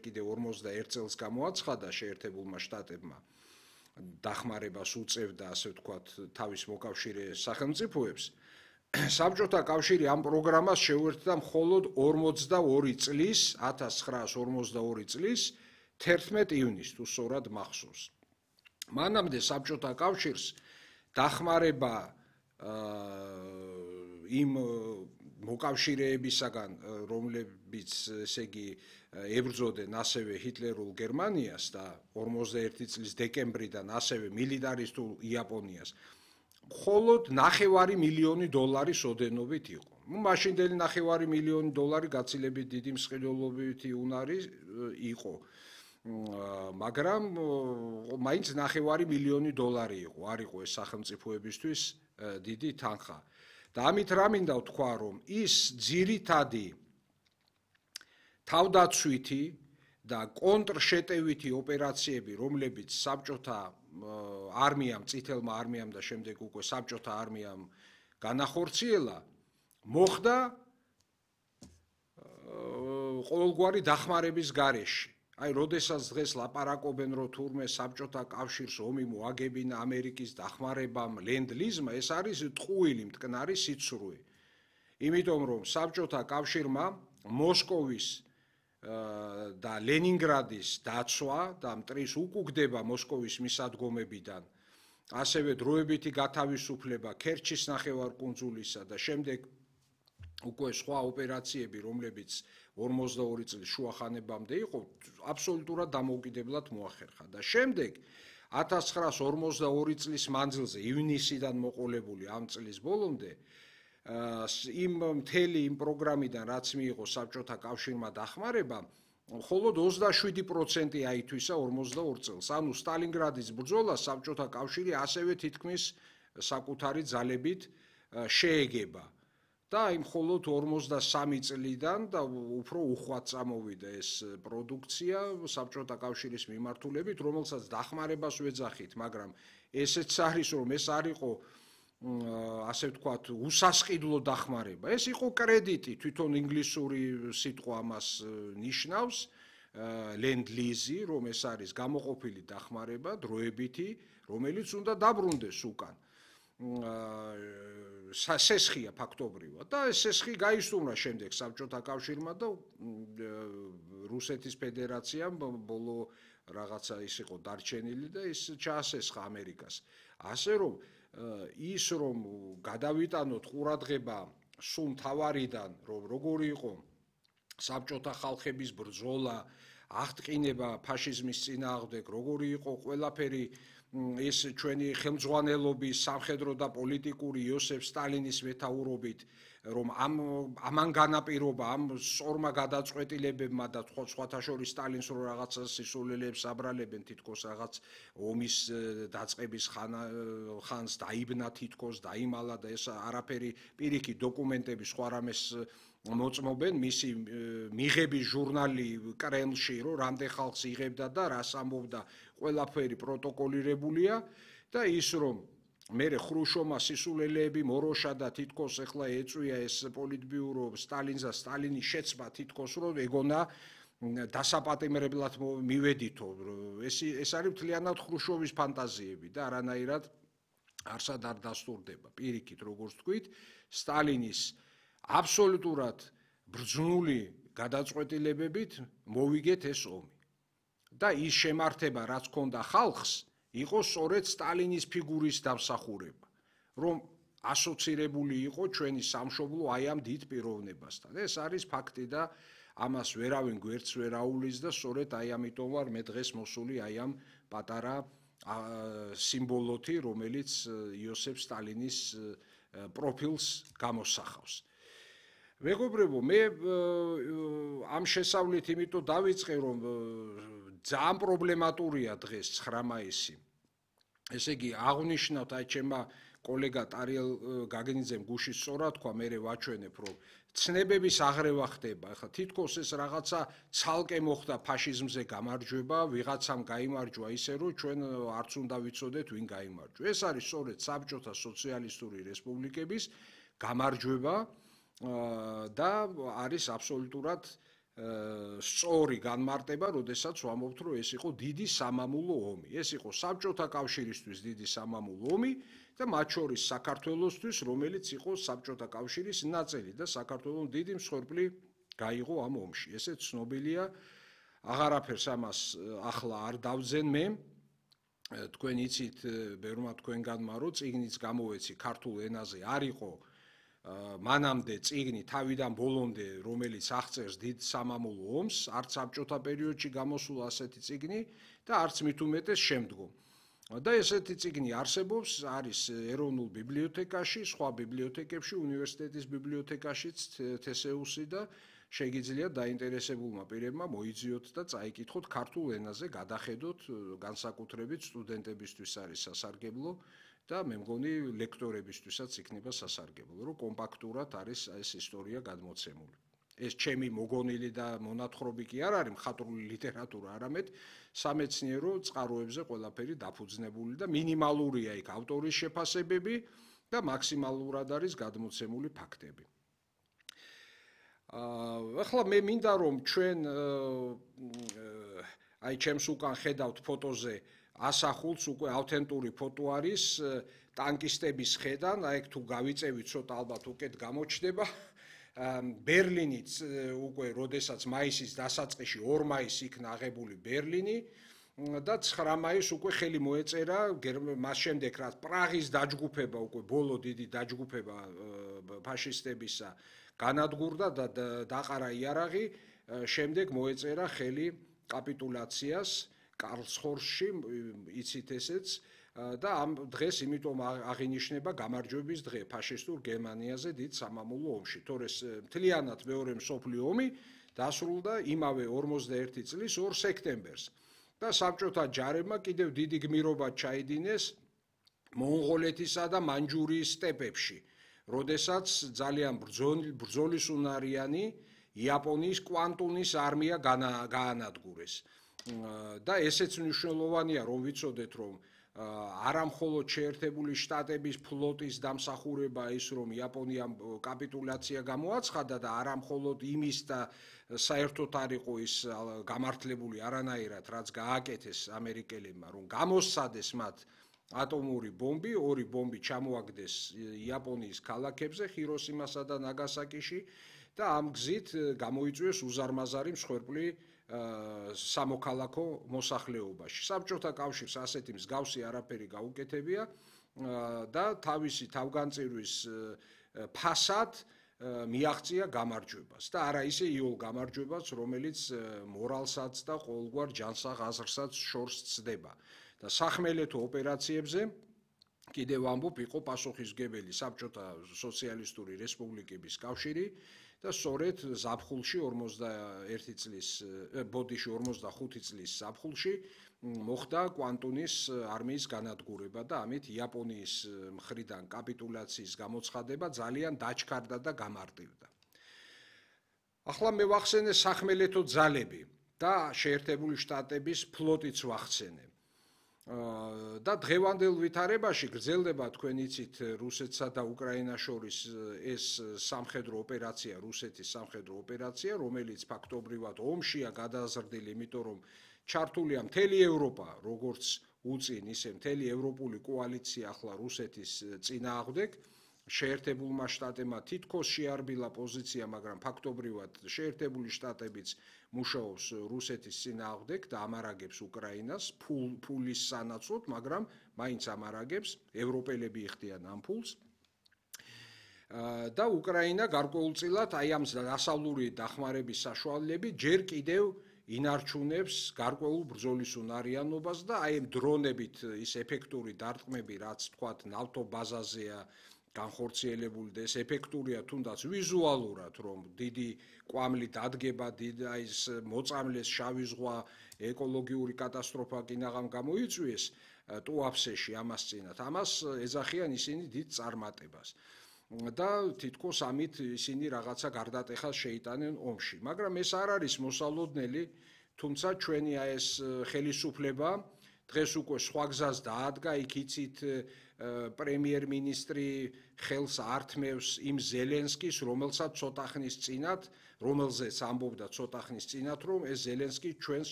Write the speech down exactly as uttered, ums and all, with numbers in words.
კიდე ორმოცდაერთ წელს გამოაცხადა შეერთებულმა შტატებმა დახმარებას უწევდა, ასე ვთქვათ, თავის მოკავშირე სახელმწიფოებს. საბჭოთა კავშირი ამ პროგრამას შეუერთდა მხოლოდ ორმოცდაორი წლის, ათას ცხრაას ორმოცდაორი წლის თერთმეტ ივნისს, თუ სწორად მახსოვს. მანამდე საბჭოთა კავშირს დახმარება იმ მოკავშირეებისაგან, რომლებიც ესე იგი ებრძოდნენ ასევე ჰიტლერულ გერმანიას და ორმოცდაერთი წლის დეკემბრიდან ასევე მილიტარისტულ იაპონიას, მხოლოდ ნახევარი მილიონი დოლარის ოდენობით იყო. მაშინდელი ნახევარი მილიონი დოლარი გაცილებით დიდი მსყიდველობითი უნარი იყო, მაგრამ მაინც ნახევარი მილიონი დოლარი იყო, არ იყო ეს სახელმწიფოებისთვის დიდი თანხა. და ამით რა მინდა ვთქვა, რომ ის ძირითადი თავდაცვითი და კონტრშეტევითი ოპერაციები, რომლებიც საბჭოთა არმიამ, წითელმა არმიამ და შემდეგ უკვე საბჭოთა არმიამ განახორციელა, მოხდა ყოველგვარი დახმარების გარეშე. აი, როდესაც დღეს ლაპარაკობენ, რომ თურმე საბჭოთა კავშირს ომი მოაგებინა ამერიკის დახმარებამ, ლენდ-ლიზმა, ეს არის ტყუილი მტკნარი სიცრუე. იმიტომ რომ საბჭოთა კავშირმა მოსკოვის და ლენინგრადის დაცვა და მტრის უკუგდება მოსკოვის მისადგომებიდან, ასევე დროებითი გათავისუფლება ქერჩის ნახევარკუნძულისა და შემდეგ უკვე სხვა ოპერაციები, რომლებიც ორმოცდაორი წლის შუახანებამდე იყო, აბსოლუტურად დამოუკიდებლად მოახერხა და შემდეგ ათას ცხრაას ორმოცდაორი წლის მანძილზე, ივნისიდან მოყოლებული ამ წლის ბოლომდე, იმ მთელი იმ პროგრამიდან, რაც მიიღო საბჭოთა კავშირმა დახმარება, მხოლოდ ოცდაშვიდი პროცენტი აითვისა ორმოცდაორ წელს. ანუ სტალინგრადის ბრძოლა საბჭოთა კავშირი ასევე თითქმის საკუთარი ძალებით შეეგება. და იმ მხოლოდ ორმოცდასამი წლიდან და უფრო უხვად წამოვიდა ეს პროდუქცია საბჭოთა კავშირის მიმართულებით, რომელსაც დახმარებას ვეძახით, მაგრამ ესეც არის, რომ ეს არ იყო, ასე ვთქვათ, უსასყიდლო დახმარება. ეს იყო კრედიტი, თვითონ ინგლისური სიტყვა ამას ნიშნავს, ლენდ-ლიზი, რომ ეს არის გამოყოფილი დახმარება, დროებითი, რომელიც უნდა დაბრუნდეს უკან. სესხია ფაქტობრივად და ეს სესხი გაისტუმრა შემდეგ საბჭოთა კავშირმა და რუსეთის ფედერაციამ ბოლო რაღაცა ის იყო დარჩენილი და ის ჩაასესხა ამერიკას. ასე რომ ის რომ გადავიტანოთ ყურადღება სულ მთავარიდან, რომ როგორი იყო საბჭოთა ხალხების ბრძოლა, აღტყინება ფაშიზმის წინააღმდეგ, როგორი იყო ყველაფერი ეს ჩვენი ხელმძღვანელობის, სამხედრო და პოლიტიკური იოსებ სტალინის მეთაურობით, რომ ამ ამან განაპირობა ამ სწორმა გადაწყვეტილებებმა და სხვათა შორის სტალინს რო რაღაცა სისულელეებს აბრალებენ, თითქოს რაღაც ომის დაწყების ხანს დაიბნა, თითქოს დაიმალა და ეს არაფერი პირიქით დოკუმენტები სხვა რამეს მოწმობენ, მისი მიღების ჟურნალი კრემლში, რომ რამდენ ხალხს იღებდა და რას ამბობდა, ყველაფერი პროტოკოლირებულია და ის რომ მერე ხრუშოვმა სისულელეები მოროშა და თითქოს ეხლა ეწვია ეს პოლიტბიურო სტალინს და სტალინის შეცმა თითქოს რომ ეგონა დასაპატიმრებლად მივედითო. ეს ეს არის მთლიანად ხრუშოვის ფანტაზიები და არანაირად არსად არ დასტურდება. პირიქით, როგორც თქვით, სტალინის აბსოლუტურად ბრძნული გადაწყვეტილებებით მოვიგეთ ეს ომი. და ის შემართება, რაც ჰქონდა ხალხს, იყო სწორედ სტალინის ფიგურის დამსახურება, რომ ასოცირებული იყო ჩვენი სამშობლო აი ამ დიდ პიროვნებასთან. ეს არის ფაქტი და ამას ვერავინ გვერდს ვერ აულის და სწორედ აი ამიტომ ვარ მე დღეს მოსული აი ამ პატარა სიმბოლოთი, რომელიც იოსებ სტალინის პროფილს გამოსახავს. მეგობრებო, მე ამ შესავლით იმიტომ დავიწყე, რომ ძალიან პრობლემატურია დღეს ცხრა მაისი. ესე იგი, აღნიშნავთ აი ჩემმა კოლეგა ტარიელ გაგნიძემ გუშინ სწორად თქვა, მე ვაჩვენებ, რომ ცნებების აღრევა ხდება. ახლა თითქოს ეს რაღაცა ცალკე მოხდა ფაშიზმზე გამარჯვება, ვიღაცამ გაიმარჯვა ისე, რომ ჩვენ არც უნდა ვიცოდეთ, ვინ გაიმარჯვა. ეს არის სწორედ საბჭოთა სოციალისტური რესპუბლიკების გამარჯვება და არის აბსოლუტურად სწორი განმარტება, როდესაც ვამბობთ, რომ ეს იყო დიდი სამამულო ომი. ეს იყო საბჭოთა კავშირისთვის დიდი სამამულო ომი და მათ შორის საქართველოსთვის, რომელიც იყო საბჭოთა კავშირის ნაწილი და საქართველოს დიდი მსხვერპლი გაიღო ამ ომში. ესეც ცნობილია, აღარაფერს ამას ახლა არ დავძენ მე. თქვენ იცით, ბევრმა თქვენგანმა, რომ წიგნიც გამოვეცი ქართულ ენაზე არ იყო მანამდე წიგნი თავიდან ბოლომდე, რომელიც აღწერს დიდ სამამულო ომს, არც საბჭოთა პერიოდში გამოსულა ასეთი წიგნი და არც მით უმეტეს შემდგომ. და ესეთი წიგნი არსებობს, არის ეროვნულ ბიბლიოთეკაში, სხვა ბიბლიოთეკებში, უნივერსიტეტის ბიბლიოთეკაშიც თე ეს იუ სი და შეგიძლიათ დაინტერესებულმა პირებმა მოიძიოთ და წაიკითხოთ ქართულ ენაზე, გადახედოთ, განსაკუთრებით სტუდენტებისთვის არის სასარგებლო და მე მგონი ლექტორებისთვისაც იქნება სასარგებლო, რომ კომპაქტურად არის ეს ისტორია გადმოცემული. ეს ჩემი მოგონილი და მონათხრობი კი არ არის მხატვრული ლიტერატურა, არამედ სამეცნიერო წყაროებზე ყველაფერი დაფუძნებული და მინიმალურია იქ ავტორის შეფასებები და მაქსიმალურად არის გადმოცემული ფაქტები. ახლა მე მინდა რომ ჩვენ აი ჩემს უკან ხედავთ ფოტოზე ასახულს უკვე ავთენტური ფოტო არის ტანკისტების ხედან, აი თუ გავიწევით ცოტა ალბათ უკეთ გამოჩნდება. ბერლინიც უკვე როდესაც მაისის დასაწყისში ორ მაისს იქნა აღებული ბერლინი და ცხრა მაისს უკვე ხელი მოეწერა მას შემდეგ რაც პრაღის დაჯგუფება უკვე ბოლო დიდი დაჯგუფება ფაშისტებისა განადგურდა და დაყარა იარაღი, შემდეგ მოეწერა ხელი კაპიტულაციას კარლსხორსში, იცით ესეც და ამ დღეს იმიტომ აღინიშნება გამარჯვების დღე ფაშისტურ გერმანიაზე დიდ სამამულო ომში. თორე მთლიანად მეორე მსოფლიო ომი დასრულდა იმავე ორმოცდაერთი წლის ორ სექტემბერს და საბჭოთა ჯარებმა კიდევ დიდი გმირობა ჩაიდინეს მონღოლეთისა და მანჯურიის სტეპებში, როდესაც ძალიან ბრძოლისუნარიანი იაპონიის კვანტუნის არმია გაანადგურეს. და ესეც მნიშვნელოვანია, რომ ვიცოდეთ, რომ არა მხოლოდ შეერთებული შტატების ფლოტის დამსახურება ის, რომ იაპონიამ კაპიტულაცია გამოაცხადა და არა მხოლოდ იმის და საერთოდ არ იყო ის გამართლებული არანაირად, რაც გააკეთეს ამერიკელებმა, რომ გამოსცადეს მათ ატომური ბომბი, ორი ბომბი ჩამოაგდეს იაპონიის ქალაქებზე, ჰიროსიმასა და ნაგასაკიში და ამ გზით გამოიწვიეს უზარმაზარი მსხვერპლი სამოქალაქო მოსახლეობაში. საბჭოთა კავშირს ასეთი მსგავსი არაფერი გაუკეთებია და თავისი თავგანწირვის ფასად მიაღწია გამარჯვებას და არა ისე იოლ გამარჯვებას, რომელიც მორალსაც და ყოველგვარ ჯანსაღ აზრსაც შორს ცდება. და სახმელეთო ოპერაციებზე კიდევ ამბობ იყო პასუხისმგებელი საბჭოთა სოციალისტური რესპუბლიკების კავშირი და სწორედ ზაფხულში ორმოცდაერთი წლის ბოდიში ორმოცდახუთი წლის ზაფხულში მოხდა კვანტუნის არმიის განადგურება და ამით იაპონიის მხრიდან კაპიტულაციის გამოცხადება ძალიან დაჩქარდა და გამარტივდა. ახლა მე ვახსენე სახმელეთო ძალები და შეერთებული შტატების ფლოტიც ვახსენე. და დღევანდელ ვითარებაში გრძელდება, თქვენ იცით, რუსეთსა და უკრაინას შორის ეს სამხედრო ოპერაცია, რუსეთის სამხედრო ოპერაცია, რომელიც ფაქტობრივად ომშია გადაზრდილი, იმიტომ რომ ჩართულია მთელი ევროპა, როგორც უწინ, ისე მთელი ევროპული კოალიცია ახლა რუსეთის წინააღმდეგ. შეერთებულმა შტატებმა თითქოს შეარბილა პოზიცია, მაგრამ ფაქტობრივად შეერთებული შტატებიც მუშაობს რუსეთის წინააღმდეგ და ამარაგებს უკრაინას ფულის სანაცვლოდ, მაგრამ მაინც ამარაგებს, ევროპელები იხდიან ამ ფულს. და უკრაინა გარკვეულწილად აი ამ დასავლური დახმარების საშუალებით ჯერ კიდევ ინარჩუნებს გარკვეულ ბრძოლის უნარიანობას და აი ამ დრონებით ის ეფექტური დარტყმები, რაც თქვათ ნავთო ბაზაზეა განხორციელებული და ეს ეფექტურია თუნდაც ვიზუალურად, რომ დიდი კვამლი დადგება, დიდი აი ეს მოწამლეს შავი ზღვა, ეკოლოგიური კატასტროფა კინაღამ გამოიწვიეს ტუაფსეში ამას წინათ. ამას ეძახიან ისინი დიდ წარმატებას. და თითქოს ამით ისინი რაღაცა გარდატეხას შეიტანენ ომში. მაგრამ ეს არ არის მოსალოდნელი, თუმცა ჩვენი აი ეს ხელისუფლება დღეს უკვე სხვა გზას დაადგა, იქ იცით პრემიერ-მინისტრი ხელს ართმევს იმ ზელენსკის, რომელსაც ცოტა ხნის წინათ, რომელზეც ამბობდა ცოტა ხნის წინათ, რომ ეს ზელენსკი ჩვენს